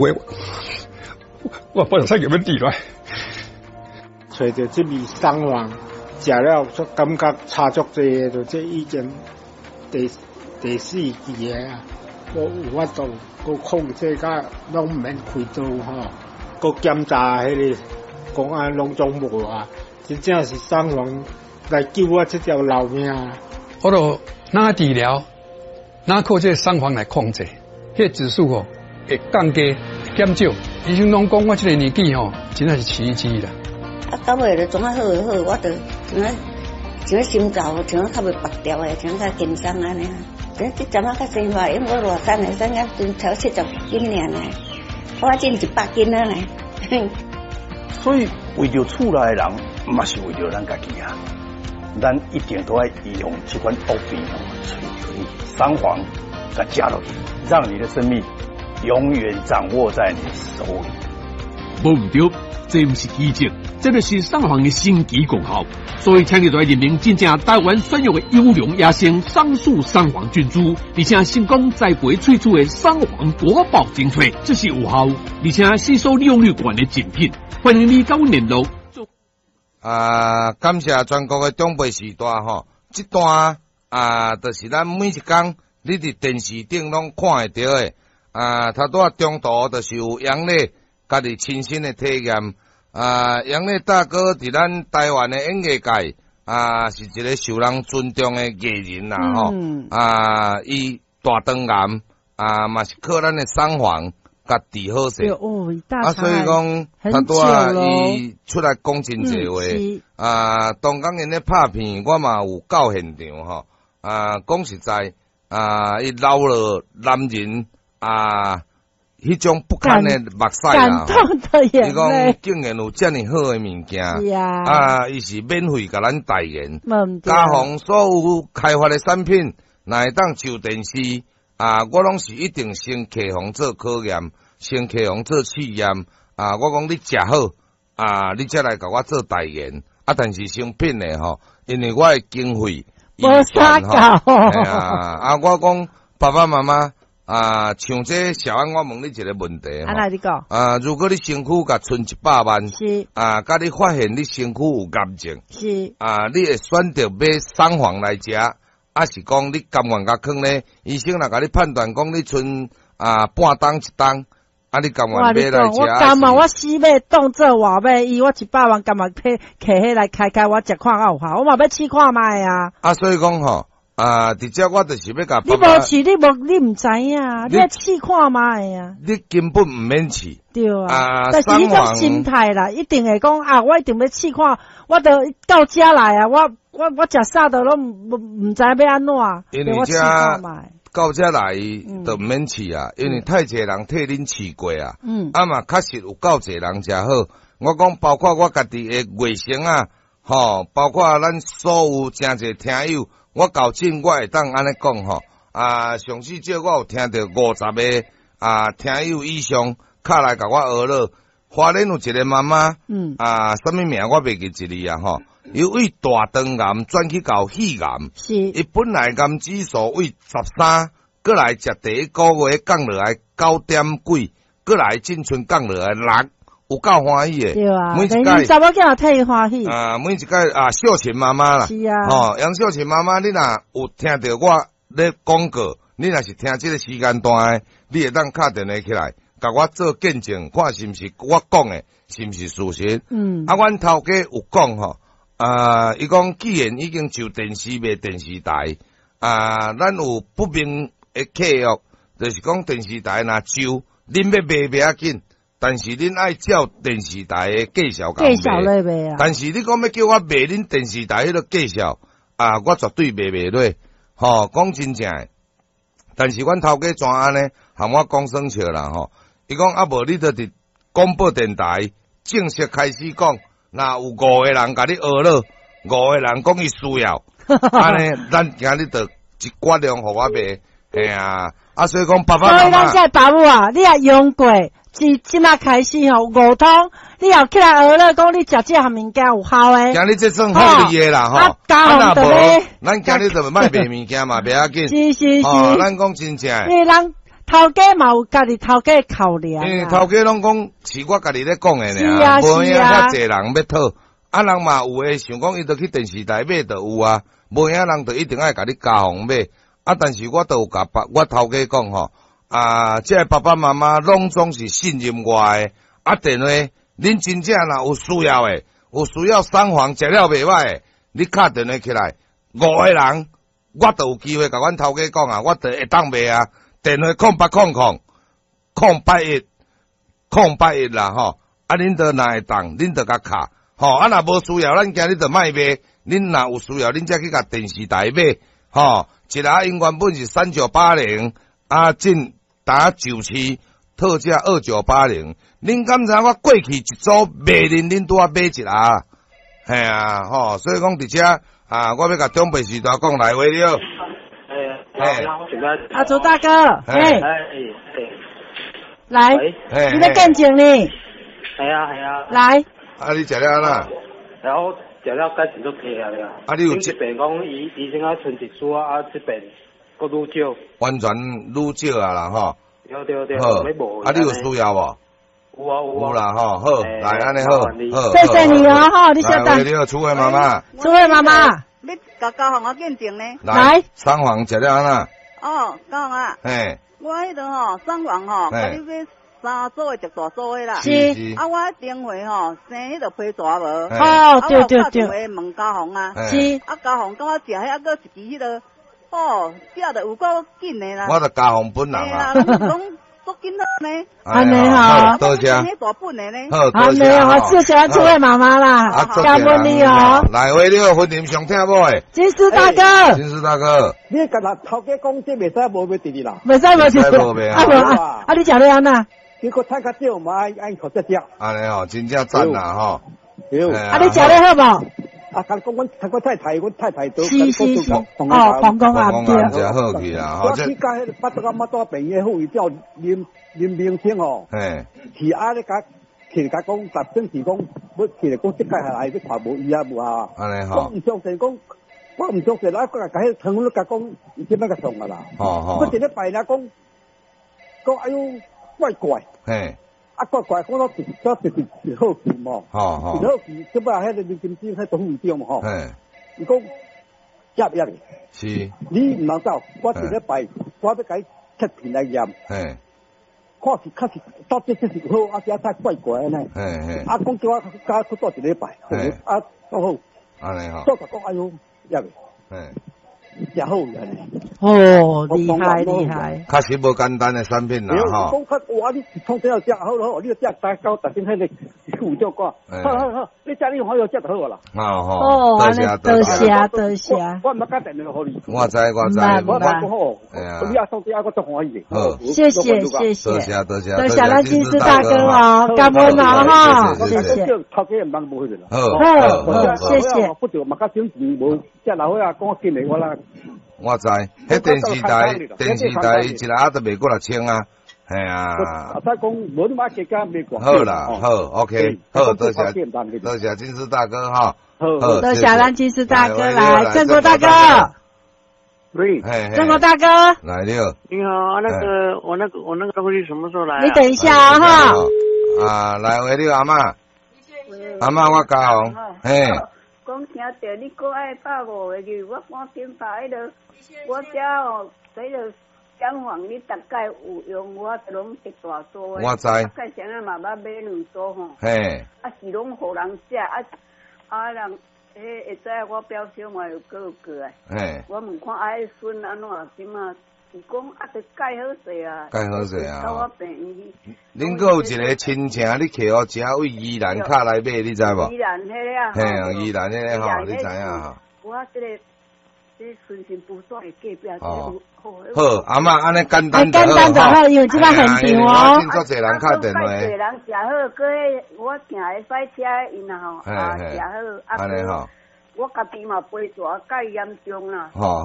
話，我本來使叫欲治來。揣著這味桑黃，食了煞感覺差足濟的，就這已經第四期的啊，閣有法度閣控制甲攏毋免開刀吼，閣檢查彼個講啊攏總無啊，真正是桑黃來救我這條老命。我就哪治療，哪靠這個桑黃來控制，彼個指數吼會降低減少。醫生攏講我這個年紀吼，真正是奇蹟啦。啊，到尾就總啊好好，我就像啊像心臟像較袂拔掉的，像較輕鬆按呢。這這陣仔較生活，因為我偌瘦的，瘦甲陣超70斤爾呢，我進100斤了呢。所以為著厝內的人，嘛是為著咱家己啊，咱一定都愛用這款惡病哦，揣著你桑黃，共食落去，讓你的生命永遠掌握在你手裡。無毋著，這毋是奇蹟，這就是桑黃的神奇功效。所以，請你來認明真正台灣選育的優良野生桑樹桑黃菌株，而且成功栽培萃取的桑黃國寶精粹，這是有效，而且吸收利用率懸的精品。歡迎你佮阮聯絡。啊，感謝全國的長輩時代吼，這段啊，就是咱每一工你佇電視頂攏看會著的。啊，頭拄仔中途就是有楊麗家己親身的體驗。啊，楊麗大哥佇咱台灣的演藝界啊，是一個受人尊重的藝人啦吼。啊，伊大腸癌啊，嘛是靠咱的桑黃共治好勢。啊，所以講，頭拄仔伊出來講真濟話。啊，當工𪜶咧拍片，我嘛有到現場吼。啊，講實在，啊，伊流落男人啊，彼種不堪的目屎啦。伊講竟然有遮爾好的物件，啊，伊是免費共咱代言。嘉宏所有開發的產品，若會當上電視啊，我攏是一定先客戶做考驗，先客戶做試驗。啊，我講你食好，啊，你才來共我做代言。啊，但是成品的吼，因為我的經費無啥夠。啊，我講爸爸媽媽啊，像這小安，我問你一個問題。啊，來你講。啊，如果你身軀共賰100萬，啊，佮你發現你身軀有癌症，啊，你會選擇買桑黃來食，抑是講你甘願共囥咧？醫生若共你判斷講你賰啊半冬一冬，啊，你甘願買來食？我甘願，我死欲當做活欲醫，我100萬甘願摕摕彼來開開，我食看較有效，我嘛欲試看覓啊。啊，所以講吼。啊！直接我就是欲共你無試，你無你毋知影，你愛試看覓啊！你根本毋免試。對啊。但是彼種心態啦，一定會講啊，我一定欲試看，我著到遮來啊，我食啥都攏毋知欲按怎。因為遮到遮來就毋免試啊，因為太濟人替恁試過啊。啊嘛，確實有夠濟人食好。我講包括我家己的外甥啊，吼，包括咱所有誠濟聽友。我厚真我會當按呢講吼，啊，上至少我有聽著50個啊聽友以上，敲來共我呵咾。花蓮有一個媽媽，啊，啥物名我袂記一字啊吼，伊為大腸癌轉去到肺癌，伊本來癌指數為13，閣來食第一個月降落來9點幾，閣來進春降落來6。有夠歡喜的，對啊，每一屆查某囝替伊歡喜。啊，每一屆啊，秀琴媽媽啦，是啊，吼，楊秀琴媽媽，你若有聽著我咧廣告，你若是聽這個時間段的，你會當敲電話起來，共我做見證，看是毋是我講的，是毋是事實？啊，阮頭家有講吼，啊，伊講既然已經上電視賣電視台，啊，咱有不明的契約，就是講電視台若上，恁欲賣袂要緊。但是恁愛照電視台的介紹共賣，但是你講欲叫我賣恁電視台彼個介紹啊，我絕對賣袂落，吼，講真正的。但是阮頭家怎按呢？含我講耍笑啦，吼。伊講啊，無你就佇廣播電台正式開始講，若有五個人共你呵咾，五個人講伊需要，按呢，咱今日就一寡量予我賣，嘿啊，啊，所以講爸爸媽媽。所以咱這爸母啊，你也用過。自這馬開始吼，五通，你又起來呵咾，講你食這項物件有效的。今日這算福利的啦，吼。啊，若無，咱今日就莫賣物件嘛，袂要緊。是是是。哦，咱講真正。因為人頭家嘛有家己頭家考量。因為頭家攏講是我家己咧講的爾，無影遐濟人欲討，啊人嘛有的想講伊著去電視台買就有啊，無影人就一定愛共你加紅買，啊但是我都有共爸我頭家講吼，啊這个爸爸媽媽攏總是信任我的，啊電話恁真正若有需要的，有需要三黃食了袂䆀的，你敲電話起來，五個人我都有機會共阮頭家講啊，我就會當賣啊。電話0800 081 081啦吼，啊恁都若會當，恁就共敲，吼啊若無需要，咱今日就莫賣。恁若有需要，恁才去共電視台買，吼。一盒𪜶原本是3980，啊進打九七特價2980。恁敢知我過去一組賣恁，恁拄仔買一盒，嘿啊吼，所以講佇遮啊，我欲共長輩時代講來話了。阿祖大哥，嘿，來，你咧見證呢？係啊係啊。來。啊，你食了按怎？然後食了改善足濟啊了。啊，你有這邊講醫醫生啊，剩一絲啊，啊這邊閣愈少。完全愈少啊啦吼。對對對。好。啊，你有需要無？有啊有啊。有啦吼，好，來按呢好，好。謝謝你哦，吼，你稍等。來，你好，楚慧媽媽。楚慧媽媽。你共交予我見證呢？來，三黃食了按怎？哦，交啊。嘿。我彼陣吼，三黃吼，佮你買三組的，一大組的啦。是。啊，我頂回吼生彼個批蛇無？哦，對對對。啊，我問家紅啊。是。啊，家紅感覺食彼還閣一支彼個，哦，食得有夠緊的啦。我就家紅本人啊。講足緊好呢。按呢吼，多謝。大本的呢。好，按呢吼，謝謝這位媽媽啦，感恩你哦。來，喂，你好，婚姻上聽某的。金絲大哥。金絲大哥。你共人頭家講這袂使無賣佇哩啦。袂使無佇。啊無啊，啊你食了按怎？結果趁較少嘛，愛愛負責食。按呢吼，真正讚啦吼。對。啊你食了好無？啊，共講阮阮太太，阮太太都是是是，哦，膀胱癌對。真好去啦，我去共彼个腹肚仔腹肚病院副院長林林明清吼，是啊咧共起來共講，特等是講欲起來講，這屆下來欲看無醫啊無啊。按呢吼。我毋相信講，我毋相信，啊，閣共彼個湯粉共講，伊這擺共送啊啦。哦哦。我一禮拜爾講，講哎喲怪怪。啊怪怪，講到一到一一好奇嘛。哦哦。一好奇，這擺彼個林金枝彼董事長嘛吼。伊講，接入是。你毋通走，我一禮拜我欲共你切片來驗。看是確實到底這是好，啊是太怪怪按呢。啊，講叫我加去住一禮拜，啊，都好。按呢吼。做講哎喲，入。誠好按呢。哦，厲害厲害。確實無簡單的產品啦，吼。講較哇，你創啥食好好，你食大到特頂彼個副長講，好好好，你食你好有食就好啦。哦吼，多謝多謝多謝。我毋捌打電話予你。我知我知。我講好，你阿送啲阿我足歡喜的。好，謝謝謝謝。多謝多謝。多謝咱金絲大哥哦，感恩哦哈，謝謝。頭家毋通無彼個啦。好，好，謝謝。不就嘛較省錢，無遮老歲仔講緊的我啦。我知，彼電視台電視台一盒都賣過6000啊，嘿啊。阿使講無你買加加賣偌。好啦，好，OK，好，多謝多謝金絲大哥哈。好，多謝咱金絲大哥來，鄭國大哥。喂，鄭國大哥。來了。你好，那個我那個我那個東西什麼時候來？你等一下啊哈。啊，來喂，你阿嬤。阿嬤，我教嘿。講聽著你閣愛拍五個字，我趕緊拍彼个，我遮哦，彼个講房你逐擺有用，我攏一大組的。我知。啊，蓋啥仔嘛捌買兩組吼。嘿。啊是攏予人食，啊啊人，彼會知我表兄嘛又閣有過來。嘿。我問看啊，彼孫按怎這馬？伊講啊，著蓋好勢啊。蓋好勢啊。到我病院去。恁閣有一個親情，你客戶遮位宜蘭卡來買，你知無？宜蘭彼个啊。嘿啊，宜蘭彼个吼，你知影吼？我這個這順心不斷的隔壁。哦。好，阿嬤按呢簡單簡單就好，因為這擺現場哦。真足濟人敲電話。足濟人食好，閣彼我定會駛車𪜶吼，啊食好，啊。按呢吼。我家己嘛陪住較嚴重啦。吼好，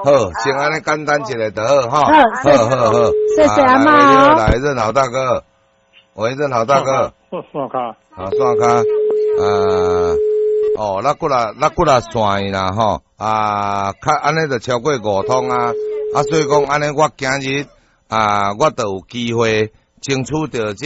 好，先按呢簡單一下就好，吼。好好好，謝謝阿嬤。來，任老大哥，喂，任老大哥。線卡。好，線卡。哦，咱過來，咱過來線啦，吼。啊，較按呢就超過五通啊。啊，所以講按呢，我今日啊，我就有機會爭取著這